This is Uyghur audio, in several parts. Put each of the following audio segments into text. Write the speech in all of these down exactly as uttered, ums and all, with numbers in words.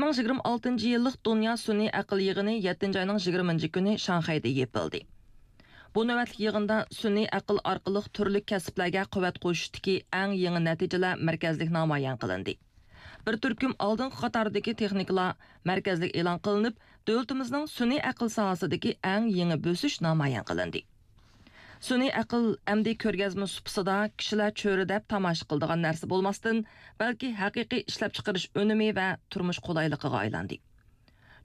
ئىككى مىڭ يىگىرمە ئالتىنچى يىللىق دۇنيا سۈنئىي ئەقىل يىغىنى يەتتىنچى ئاينىڭ يىگىرمىنچى كۈنى شاڭخەيدە يېپىلدى. بۇ نۆۋەتلىك يىغىندا سۈنئىي ئەقىل ئارقىلىق تۈرلۈك كەسىپلەرگە قۇۋۋەت قوشۇشتىكى ئەڭ يېڭى نەتىجىلەر مەركەزلىك نامايان قىلىندى. بىر تۈركۈم ئالدىنقى قاتاردىكى تېخنىكىلار مەركەزلىك ئېلان قىلىنىپ، دۆلىتىمىزنىڭ سۈنئىي ئەقىل ساھەسىدىكى ئەڭ يېڭى بۆسۈش نامايان قىلىندى. سۈنئىي ئەقىل ئەمدى كۆرگەزمە سۇپىسىدا كىشىلەر چۆرىدەپ تاماشا قىلىدىغان نەرسە بولماستىن، بەلكى ھەقىقىي ئىشلەپچىقىرىش ئۈنۈمى ۋە تۇرمۇش قولايلىقىغا ئايلاندى.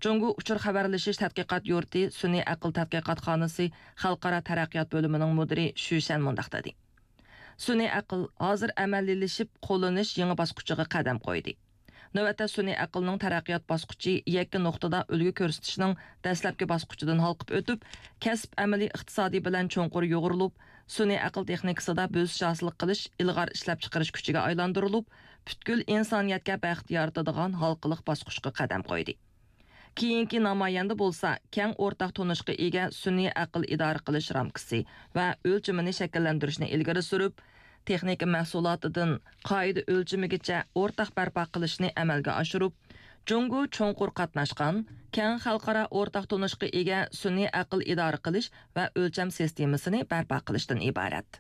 جۇڭگو ئۇچۇر خەۋەرلىشىش تەتقىقات يۇرتى سۈنئىي ئەقىل تەتقىقاتخانىسى خەلقئارا تەرەققىيات بۆلۈمىنىڭ مۇدىرى شۈ شەن مۇنداق دېدى: سۈنئىي ئەقىل ھازىر ئەمەلىيلىشىپ، قوللىنىش يېڭى باسقۇچىغا قەدەم قويدى. نۆۋەتتە سۈنئىي ئەقىلنىڭ تەرەققىيات باسقۇچى يەككە نۇقتىدا ئۈلگە كۆرسىتىشنىڭ دەسلەپكى باسقۇچىدىن ھالقىپ ئۆتۈپ، كەسىپ ئەمەلىي ئىقتىسادى بىلەن چوڭقۇر يۇغۇرۇلۇپ، سۈنئىي ئەقىل تېخنىكىسىدا بۆسۈش ھاسىل قىلىش ئىلغار ئىشلەپچىقىرىش كۈچىگە ئايلاندۇرۇلۇپ، پۈتكۈل ئىنسانىيەتكە بەخت يارىتىدىغان ھالقىلىق باسقۇچقا قەدەم قويدى. كېيىنكى نامايەندە بولسا، كەڭ ئورتاق تونۇشقا ئىگە سۈنئىي ئەقىل ئىدارە قىلىش رامكىسى ۋە ئۆلچىمىنى شەكىللەندۈرۈشنى ئىلگىرى سۈرۈپ، تېخنىكا مەھسۇلاتىدىن قائىدە ئۆلچىمىگىچە ئورتاق بەرپا قىلىشنى ئەمەلگە ئاشۇرۇپ، جۇڭگو چوڭقۇر قاتناشقان، كەڭ خەلقئارا ئورتاق تونۇشقا ئىگە سۈنئىي ئەقىل ئىدارە قىلىش ۋە ئۆلچەم سىستېمىسىنى بەرپا قىلىشتىن ئىبارەت.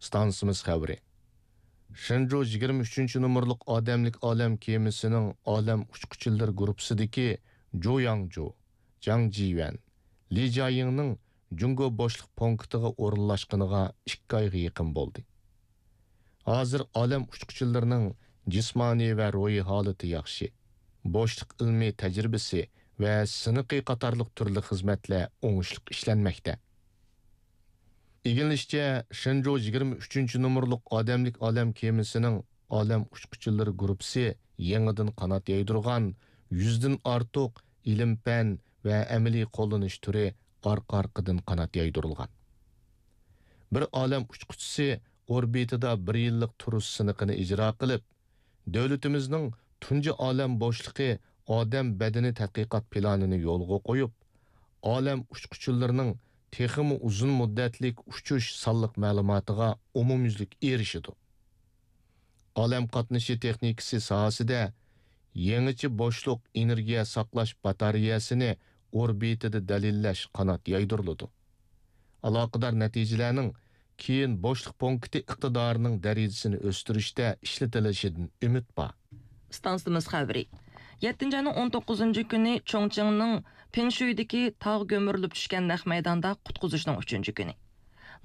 ئىستانسىمىز خەۋىرى. شېنجۇ يىگىرمە ئۈچىنچى نومۇرلۇق ئادەملىك ئالەم كېمىسىنىڭ ئالەم ئۇچقۇچىلىرى گۇرۇپپىسىدىكى جۇ ياڭجۇ، جاڭ جىيۈەن، لى جياڭنىڭ جۇڭگو بوشلۇق پونكىتىغا ئورۇنلاشقىنىغا ئىككى ئايغا يېقىن بولدى. ھازىر ئالەم ئۇچقۇچىلىرىنىڭ جىسمانىي ۋە روھىي ھالىتى ياخشى. بوشلۇق ئىلمىي تەجرىبىسى ۋە سىنىقى قاتارلىق تۈرلۈك خىزمەتلەر ئوڭۇشلۇق ئىشلەنمەكتە. ئىگىلىنىشىچە، شېنجۇ يىگىرمە ئۈچىنچى نومۇرلۇق ئادەملىك ئالەم كېمىسىنىڭ ئالەم ئۇچقۇچىلىرى گۇرۇپپىسى يېڭىدىن قانات يايدۇرغان يۈزدىن ئارتۇق ئىلىم-پەن ۋە ئەمەلىي قوللىنىش تۈرى ئارقا-ئارقىدىن قانات يايدۇرۇلغان. بىر ئالەم ئۇچقۇچىسى ئوربىتىدا بىر يىللىق تۇرۇش سىنىقىنى ئىجرا قىلىپ، دۆلىتىمىزنىڭ تۇنجى ئالەم بوشلۇقى ئادەم بەدىنى تەتقىقات پىلانىنى يولغا قويۇپ، ئالەم ئۇچقۇچىلىرىنىڭ تېخىمۇ ئۇزۇن مۇددەتلىك ئۇچۇش سانلىق مەلۇماتىغا ئومۇميۈزلۈك ئېرىشىدۇ. ئالەم قاتنىشى تېخنىكىسى ساھەسىدە يېڭىچە بوشلۇق ئېنېرگىيە ساقلاش باتارېيەسىنى ئوربىتىدا دەلىللەش قانات يايدۇرۇلىدۇ. ئالاقىدار نەتىجىلەرنىڭ كېيىن بوشلۇق پونكىتى ئىقتىدارىنىڭ دەرىجىسىنى ئۆستۈرۈشتە ئىشلىتىلىشىدىن ئۈمىد بار. ئىستانسىمىز خەۋىرى. يەتتىنچى ئاينىڭ ئون توققۇزىنچى كۈنى چۇڭچىڭنىڭ پىڭشۇيدىكى تاغ گۆمۈرۈلۈپ چۈشكەن نەق مەيداندا قۇتقۇزۇشنىڭ ئۈچىنچى كۈنى.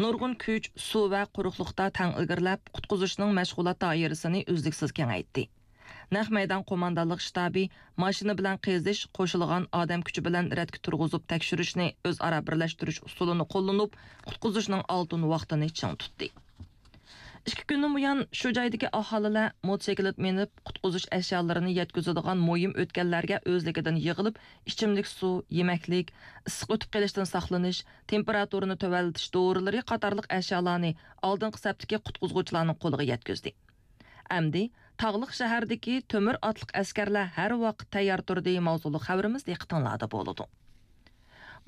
نۇرغۇن كۈچ، سۇ ۋە قۇرۇقلۇقتا تەڭ ئىلگىرىلەپ، قۇتقۇزۇشنىڭ مەشغۇلات دائىرىسىنى ئۈزلۈكسىز كېڭەيتتى. نەق مەيدان قوماندانلىق شتابى ماشىنا بىلەن قېزىش، قوشۇلغان ئادەم كۈچى بىلەن رەتكە تۇرغۇزۇپ تەكشۈرۈشنى ئۆزئارا بىرلەشتۈرۈش ئۇسۇلىنى قوللىنىپ، قۇتقۇزۇشنىڭ ئالتۇن ۋاقتىنى چىڭ تۇتتى. ئىككى كۈندىن بۇيان شۇ جايدىكى ئاھالىلەر موتوسىكلىت مىنىپ، قۇتقۇزۇش ئەشيالىرىنى يەتكۈزىدىغان مۇھىم ئۆتكەللەرگە ئۆزلۈكىدىن يىغىلىپ، ئىچىملىك سۇ، يېمەكلىك، ئىسسىق ئۆتۈپ قېلىشتىن ساقلىنىش، تېمپېراتۇرىنى تۆۋەنلىتىش دورىلىرى قاتارلىق ئەشيالارنى ئالدىنقى سەپتىكى قۇتقۇزغۇچىلارنىڭ قولىغا يەتكۈزدى. ئەمدى تاغلىق شەھەردىكى تۆمۈر ئاتلىق ئەسكەرلەر ھەر ۋاقىت تەييار تۇردى ماۋزۇلۇق خەۋىرىمىز دىققىتىڭلاردا بولىدۇ.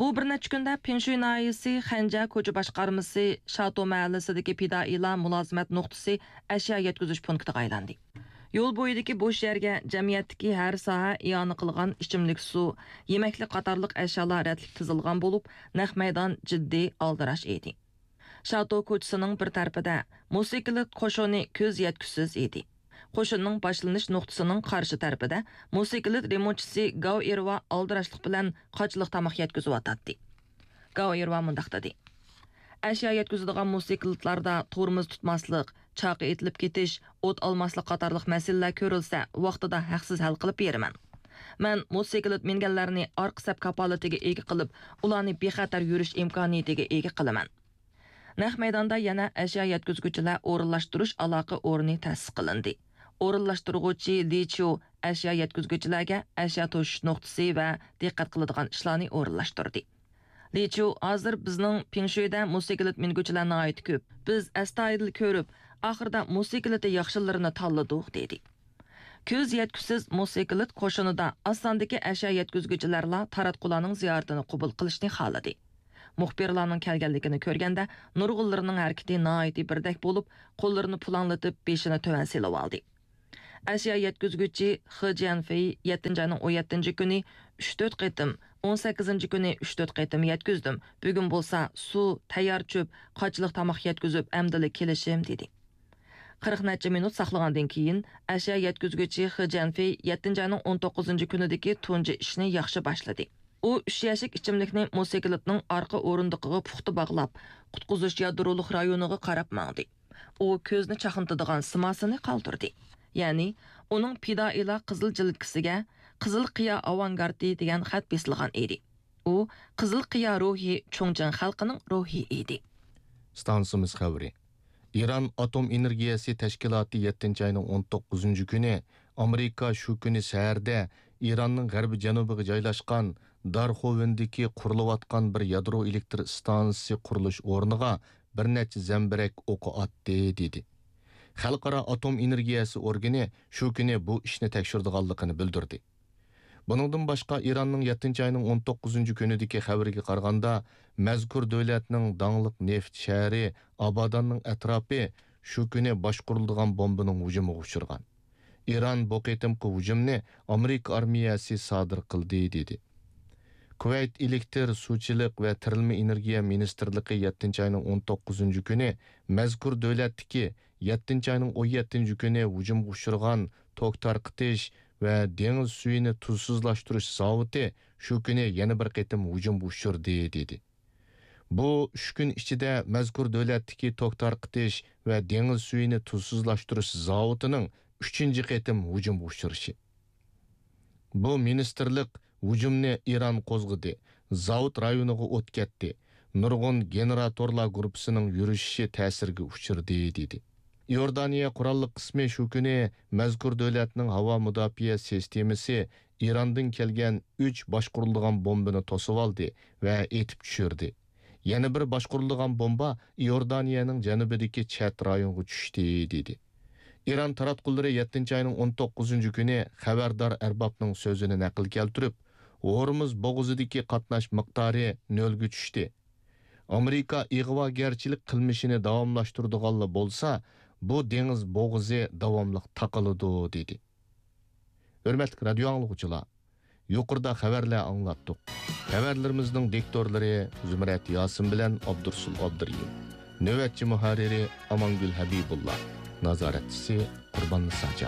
بۇ بىر نەچچە كۈندە پىڭشۇي ناھىيەسى خەنجيا كوچا باشقارمىسى شاتو مەھەللىسىدىكى پىدائىيلار مۇلازىمەت نۇقتىسى ئەشيا يەتكۈزۈش پونكىتىغا ئايلاندى. يول بويىدىكى بوش يەرگە جەمئىيەتتىكى ھەر ساھە ئىئانە قىلغان ئىچىملىك سۇ، يېمەكلىك قاتارلىق ئەشيالار رەتلىك تىزىلغان بولۇپ، نەق مەيدان جىددىي ئالدىراش ئىدى. شاتو كوچىسىنىڭ بىر تەرىپىدە موتوسىكلىت قوشۇنى كۆز يەتكۈسىز ئىدى. قوشۇننىڭ باشلىنىش نۇقتىسىنىڭ قارشى تەرىپىدە موتوسىكلىت رېمونتچىسى گاۋ ئېرۋا ئالدىراشلىق بىلەن قاچىلىق تاماق يەتكۈزۈۋاتاتتى. گاۋ ئېرۋا مۇنداق دېدى: ئەشيا يەتكۈزىدىغان موتوسىكلىتلاردا تورمۇز تۇتماسلىق، چاقا ئېتىلىپ كېتىش، ئوت ئالماسلىق قاتارلىق مەسىلىلەر كۆرۈلسە، ۋاقتىدا ھەقسىز ھەل قىلىپ بېرىمەن. مەن موتوسىكلىت مىنگەنلەرنى ئارقا سەپ كاپالىتىگە ئىگە قىلىپ، ئۇلارنى بىخەتەر يۈرۈش ئىمكانىيىتىگە ئىگە قىلىمەن. نەق مەيداندا يەنە ئەشيا يەتكۈزگۈچىلەر ئورۇنلاشتۇرۇش ئالاقە ئورنى تەسىس قىلىندى. ئورۇنلاشتۇرغۇچى لى چيۇ ئەشيا يەتكۈزگۈچىلەرگە ئەشيا توشۇش نۇقتىسى ۋە دىققەت قىلىدىغان ئىشلارنى ئورۇنلاشتۇردى. لى چيۇ: ھازىر بىزنىڭ پىڭشۇيدە موتوسىكلىت مىنگۈچىلەر ناھايىتى كۆپ. بىز ئەستايىدىل كۆرۈپ، ئاخىرىدا موتوسىكلىتى ياخشىلىرىنى تاللىدۇق، دېدى. كۆز يەتكۈسىز موتوسىكلىت قوشۇنىدا ئاز ساندىكى ئەشيا يەتكۈزگۈچىلەرلا تاراتقۇلارنىڭ زىيارىتىنى قوبۇل قىلىشنى خالىدى. مۇخبىرلارنىڭ كەلگەنلىكىنى كۆرگەندە، نۇرغۇنلىرىنىڭ ھەرىكىتى ناھايىتى بىردەك بولۇپ، قوللىرىنى پۇلاڭلىتىپ، بېشىنى تۆۋەن سېلىۋالدى. ئەشيا يەتكۈزگۈچى خې جيەنفېي يەتتىنچى ئاينىڭ ئون يەتتىنچى كۈنى ئۈچ تۆت قېتىم، ئون سەككىزىنچى كۈنى ئۈچ تۆت قېتىم يەتكۈزدۈم. بۈگۈن بولسا سۇ، تەييار چۆپ، قاچىلىق تاماق يەتكۈزۈپ ئەمدىلا كېلىشىم، دېدى. قىرىق نەچچە مىنۇت ساقلىغاندىن كېيىن، ئەشيا يەتكۈزگۈچى خې جيەنفېي يەتتىنچى ئاينىڭ ئون توققۇزىنچى كۈنىدىكى تۇنجى ئىشنى ياخشى باشلىدى. ئۇ ئۈچ يەشىك ئىچىملىكنى موتوسىكلىتنىڭ ئارقا ئورۇندۇقىغا پۇختا باغلاپ، قۇتقۇزۇش يادرولۇق رايونىغا قاراپ ماڭدى. ئۇ كۆزنى چاقنىتىدىغان سىماسىنى قالدۇردى. يەنى، ئۇنىڭ پىدائىيلار قىزىل جىلىتكىسىگە «قىزىل قىيا ئاۋانگارتى» دېگەن خەت بېسىلغان ئىدى. ئۇ قىزىل قىيا روھى چۇڭجىڭ خەلقىنىڭ روھى ئىدى. ئىستانسىمىز خەۋىرى. ئىران ئاتوم ئېنېرگىيەسى تەشكىلاتى يەتتىنچى ئاينىڭ ئون توققۇزىنچى كۈنى، ئامېرىكا شۇ كۈنى سەھەردە ئىراننىڭ غەربىي جەنۇبىغا جايلاشقان دارخوۋىندىكى قۇرۇلۇۋاتقان بىر يادرو ئېلېكتر ئىستانسىسى قۇرۇلۇش ئورنىغا بىر نەچچە زەمبىرەك ئوقى ئاتتى، دېدى. خەلقئارا ئاتوم ئېنېرگىيەسى ئورگىنى شۇ كۈنى بۇ ئىشنى تەكشۈرىدىغانلىقىنى بىلدۈردى. بۇنىڭدىن باشقا، ئىراننىڭ يەتتىنچى ئاينىڭ ئون توققۇزىنچى كۈنىدىكى خەۋىرىگە قارىغاندا، مەزكۇر دۆلەتنىڭ داڭلىق نېفىت شەھىرى ئاباداننىڭ ئەتراپى شۇ كۈنى باشقۇرۇلىدىغان بومبىنىڭ ھۇجۇمىغا ئۇچرىغان. ئىران بۇ قېتىمقى ھۇجۇمنى ئامېرىكا ئارمىيەسى سادىر قىلدى، دېدى. كۇۋەيت ئېلېكتر، سۇچىلىق ۋە تىرىلمە ئېنېرگىيە مىنىستىرلىقى يەتتىنچى ئاينىڭ ئون توققۇزىنچى كۈنى مەزكۇر دۆلەتتىكى يەتتىنچى ئاينىڭ ئون يەتتىنچى كۈنى ھۇجۇمغا ئۇچرىغان توك تارقىتىش ۋە دېڭىز سۈيىنى تۇزسىزلاشتۇرۇش زاۋۇتى شۇ كۈنى يەنە بىر قېتىم ھۇجۇمغا ئۇچرىدى، دېدى. بۇ ئۈچ كۈن ئىچىدە مەزكۇر دۆلەتتىكى توك تارقىتىش ۋە دېڭىز سۈيىنى تۇزسىزلاشتۇرۇش زاۋۇتىنىڭ ئۈچىنچى قېتىم ھۇجۇمغا ئۇچرىشى. بۇ مىنىستىرلىق ھۇجۇمنى ئىران قوزغىدى، زاۋۇت رايونىغا ئوت كەتتى، نۇرغۇن گېنېراتورلار گۇرۇپپىسىنىڭ يۈرۈشۈشى تەسىرگە ئۇچرىدى، دېدى. ئىئوردانىيە قوراللىق قىسمى شۇ كۈنى مەزكۇر دۆلەتنىڭ ھاۋا مۇداپىئە سىستېمىسى ئىراندىن كەلگەن ئۈچ باشقۇرۇلىدىغان بومبىنى توسۇۋالدى ۋە ئېتىپ چۈشۈردى. يەنە بىر باشقۇرۇلىدىغان بومبا ئىئوردانىيەنىڭ جەنۇبىدىكى چەت رايونغا چۈشتى، دېدى. ئىران تاراتقۇلىرى يەتتىنچى ئاينىڭ ئون توققۇزىنچى كۈنى خەۋەردار ئەربابنىڭ سۆزىنى نەقىل كەلتۈرۈپ، ھورمۇز بوغۇزىدىكى قاتناش مىقدارى نۆلگە چۈشتى. ئامېرىكا ئىغۋاگەرچىلىك قىلمىشىنى داۋاملاشتۇرىدىغانلا بولسا، بۇ دېڭىز بوغۇزى داۋاملىق تاقىلىدۇ، دېدى. ھۆرمەتلىك رادىيو ئاڭلىغۇچىلار، يۇقىرىدا خەۋەرلەر ئاڭلاتتۇق. خەۋەرلىرىمىزنىڭ دىكتورلىرى زۇمرەت ياسىن بىلەن ئابدۇرسۇل ئابدۇرېھىم. نۆۋەتچى مۇھەررىرى ئامانگۈل ھەبىبۇللا. نازارەتچىسى قۇربان نىساجان.